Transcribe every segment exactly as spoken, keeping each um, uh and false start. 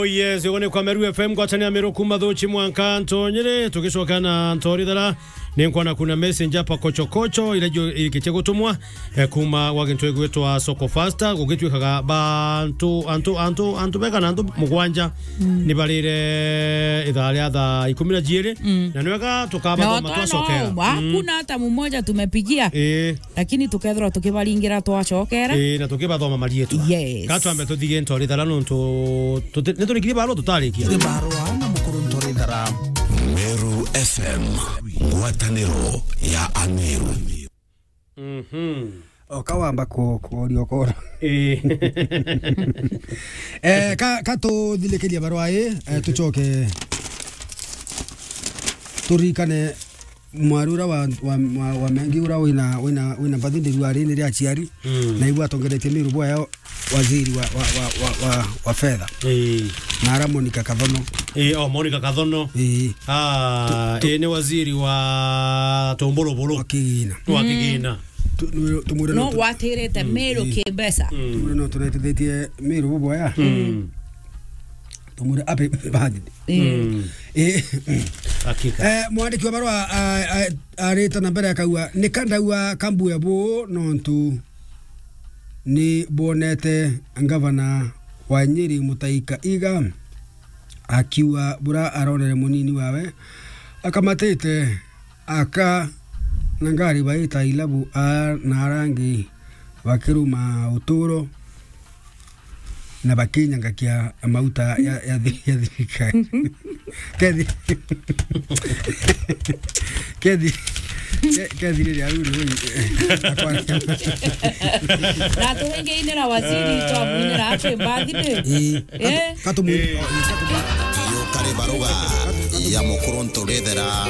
Yes, ugo ni kwa Meru F M, ngwataniro ya Meru kuma Thuchi mwanka Ntonyere, tugicoka na Ntorithera. Ni nkwana kuna message hapa kochokocho, ira jo irikitie gutumwa, eh, kuma gwa gintu igwitwa Soko Faster, gugitwikaga ba antu, antu, antu, antu bega na antu mugwanja, ni barire ithaa ria thaa ikumi na jiiri, na ni wega tukabathoma twacokera. Hakuna hata mmoja tumepigia. Eh. Lakini tukethirwa tukibaringira twacokera. Ii, na tukibathoma marietwa. Yes. Ka twambe tuthige Ntorithera nontu tuti-, niturikiri barua tutarikia. Ni barua na mukuru Ntorithera. Meru F M, ngwataniro ya Ameru. Mhm. O ka wamba ku-, kuoria ukoro. Ii. Eh, ka, ka tuthirikirie barua ii, eh, tucoke turirikane mwari ura wa, wa, wa, wa Mengi ura wina, wina, wina birthday rua riri ria aciari, na ibu atongeretie Meru bwaya waziri wa, wa, wa, wa, wa, wa fedha. Ii. Na ara Monica Kathono. Ii, oh, Monica Kathono. Ii. Ah, ii ni waziri wa tumbulubulu. Wa kigina. Wa kigina. Tu-, tu-, tumwire no no tu-, gwatirite Meru kimbesa. Tumwire no turetethetie Meru bubwaya. Tumwire happy birthday. Eh. Eh. Hakika. Eh, mwandiki wa barua, a, a, arite na mbere akauga, "Ni ka ndauga ka mbuya buu nontu ni bwonete ngavana wa Nyeri Mutahi Kahiga akiuga bura aronere munini wawe akamatite aka na ngari baita ilabu a na arangi bakiruma uturo." Na bakinyangakia mauta ya, ya thi-, ya thirikari. Kethi-, kethi-, ke-, kethi riria uri uri, akwa- Na turingiinira waziri, twamwinira happy birthday. Ii. Eh? Katumwini. Yo kari baruga ya mukuru Ntorithera.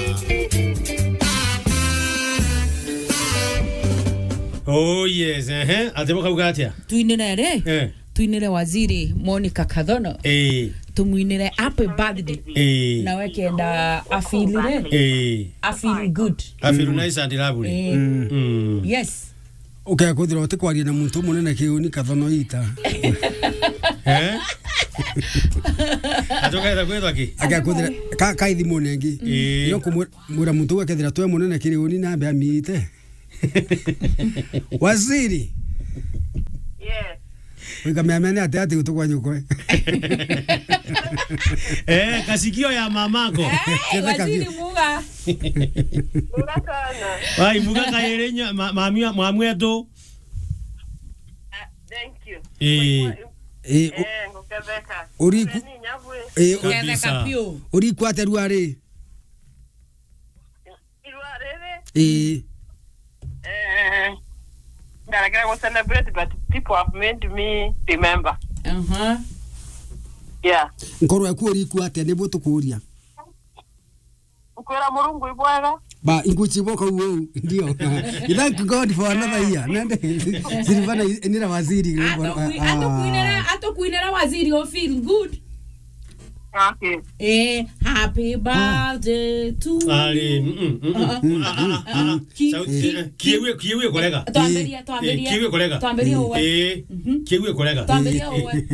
Oh yes, ehe. Ati bukauga atia? Twinire ri? Eh. Twinire waziri Monica Kathono. Eh. Tumwinire happy birthday. Eh. Na wekenda afilire. Eh. Afil good. Afil nice and lovely. Eh. Mm. Yes. Ukea kwithira utikwaria na muntu munene kiuni Kathono ita. Eh? Ati ukenda kwithwa ki? Akea kwithira ka, ka ithimune ingi. Eh. Yo kumwira muntu uu akethira twe munene kiri uni nambe amite. Waziri. Yes. Wika mea mene ati ati utukwa nyukwe. Eh, kasikio ya mamako. Eh, ketheka waziri biu. Muga. Muga sana. Wai, muga kairi nya-, ma-, mami wa, mwamu wetu. Ah, thank you. Eh. Eh, u-, eh, nguketheka. Uriku-, ni nyabwe. Eh, u-, ketheka kabisa. Biu. Uriku atia rua ri? Irua riri. Ii. Eh, ndarekera gu celebrate, but people have made me remember. Aha. Yeah. Nkoro yaku uriku atia? Nibu tukuria. Nkwira Murungu ibwega. Ba, inguchiboka uou, ndio. Thank God for another year. Nende, Silvana, inira waziri. Atukwi-, ah, atukwinira, atukwinira waziri, you feel good. Okay. Eh, happy birthday to you. Ari, mm, mm, mm, mm. Ah, ah, ah, ah, ah. Ki-, sauti, ki-, eh, ki-, kiwi, kiwi kurega. Twambirie, eh, twambirie. Kiwi kurega. Twambirie uwe. Eh, mhm, kiwi kurega. Twambirie uwe.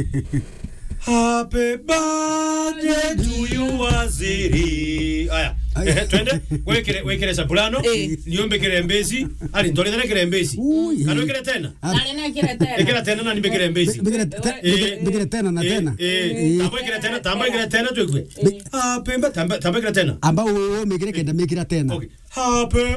Happy birthday to you, waziri. Aya. Aya. Eh, twende. Wekere, wekere soprano. Eh. Niumbikire mbesi. Ari, ntore ndekere mbesi. Ui. Kana wekere tena? Ah. Nani na ikira tena? Ikira tena na nimbikire mbesi. Mbikire te-, eh, mbikire, mbikire tena na eh, tena. Eh, eh. Tamba ikira tena, tamba ikira tena, tuigue. Bi- ah, pemba, tamba, tamba ikira tena. Amba u-, u-, mikire kenda mikira tena. Okay. Happy